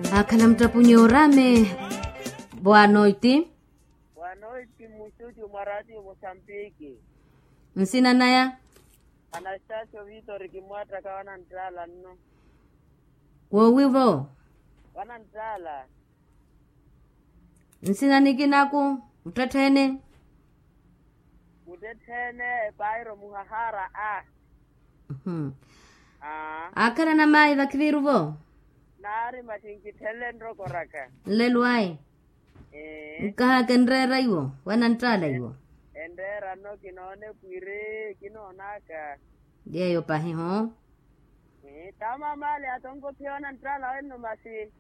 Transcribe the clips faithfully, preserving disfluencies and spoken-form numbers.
Akhala muttapunyi orame. Boa noiti. Boa noiti muxuxu mwa ratio mosambiki. Nsina naya? Anastasio vitori kimwattaka wananttaala nno. Woowivo? Wananttaala. Nsina nikinaku? Muttetthene. Muttetthene. Pairo muhahara a. Akhala na mayi vakhiviiruvo? Naari maxi nkitthele nrokoraka. Nlelo ayi. Nkahaka enreera iwo wananttaala iwo. Enreera nno kinoone pwiri kinoonaka. Yeeyo pahi ho. Taamamale atonkophiya wananttaala wenno maxi.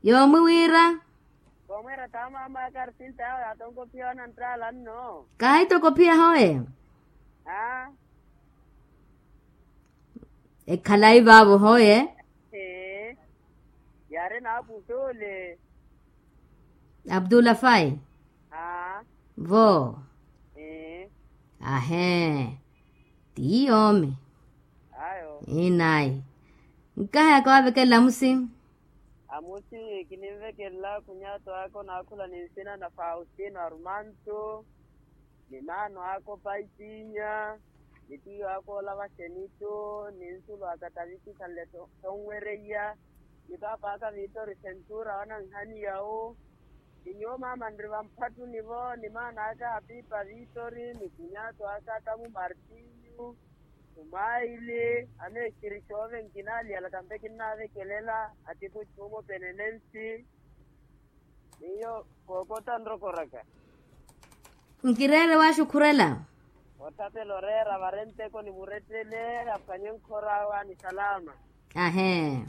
Yoomwi wira. Koomwira taamamaka arsinta yawe atonkophiya wananttaala nno. Kaahitokophiya hoye. Ekhalayi vaavo hoye. Yaari naapuxuule. Abdulafai. Vo. Ahee. Ti yoomi. Inayi. Nkahayaka waavekelela amusi. Amusi kininvekelela khunyato aka onaakhula ni nsina na faustino arumantu. Ni maano aka opaipinya. Ni tiyo aka olava xenitu ni nsulu aka taviti khanle tonwereiya. Ni paapa aka vitori sentura wananhaniya wu. Ni nyuwo maama nri vamphattuni vo ni maana aka apipa vitori ni kunyaato aka tamu martinyu. Tumaili ameexiri xoove nkinaaliyala kampe kinnaavekelela. Atipu chuumo penenensi. Miyo kookotta nrokoraka. Nkireere waxukhurela. Ottapela oreera varenteko ni murettele aphwanye nkhor'awe ni salama. Ahee.